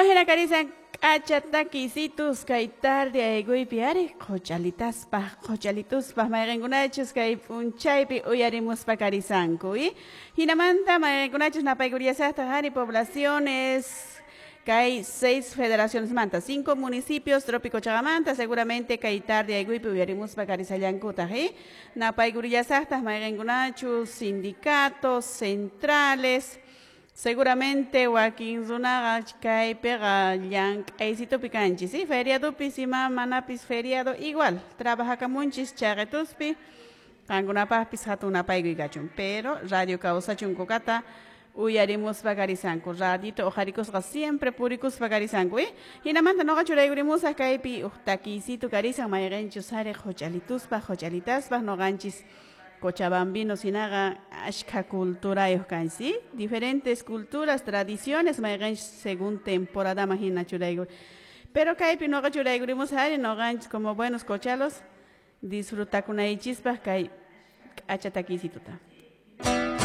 Wajina karisan k'acha takisitus kay tarde ayguypi ari qhuchalitaspaq qhuchalituspaq mayqinkunachus kay p'unchaypi uyarimuspa karisanku hinamanta mayqinkunachus napaykuriyasaqtaq ari poblaciones kay 6 federaciones manta, 5 municipios trópico chaqamanta seguramente kay tarde ayguypi uyarimuspa karisallankutaq napaykuriyasaqtaq mayqinkunachus sindicatos centrales. Seguramente wakin runaqa kaypiqa llank'aysitupi kanchis, ¿sí? Feriadopi ima manapis feriado igual trabajakamunchis chaqetuspi qankunapaqpis hatun napaykuy kachun, pero radio kawsachun kukata uyarimuspa karisanku, radito uqharikusqa siempre purikuspa karisanku, hinamanta nuqa churaykurimusaq kaypi uq takiysitu karisan mayqinchus ari qhuchalituspaq qhuchalitaspaq nuqanchis Cochabambinos hinaqa ashkha culturayuq kanchis, ¿sí? Diferentes culturas, tradiciones mayqinchus según temporadaman hina churaykur. Pero kaypi nuqa churaykurimusaq ari nuqanchis como buenos cochalos disfrutakunaychispaq kay k'acha takiysituta.